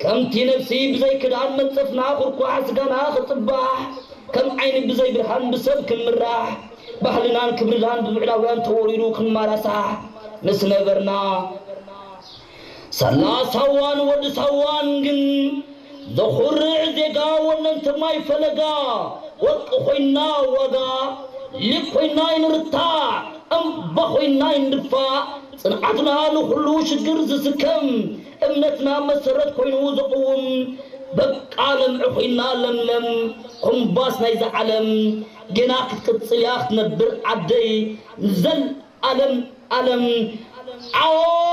ከምቲ ነፍሲ ብዘይ ክዳን መንጸፍና ኩርኳሕ ስጋና ክጽባሕ፣ ከም ዓይኒ ብዘይ ብርሃን ብሰብ ክንምራሕ፣ ባህልናን ክብርናን ብብዕዳውያን ተወሪሩ ክንማራሳሕ ምስ ነበርና፣ ሳላ ሳዋን ወዲ ሳዋን ግን ዘኹርዕ ዜጋ ወነንቲ ማይ ፈለጋ፣ ወርቂ ኮይና ዋጋ፣ ሊግ ኮይና ይንርታዕ፣ እምባ ኮይና ይንድፋእ፣ ጽንዓትና ንኹሉ ሽግር ዝስከም፣ እምነትና መሰረት ኮይኑ ዝቕውም፣ በቃ ለምዒ ኮይና ለምለም፣ ኮምባስ ናይዛ ዓለም፣ ጌና ክትቅጽል እያ ክትነብር ዓደይ፣ ንዘልኣለም ኣለም። ዓወት!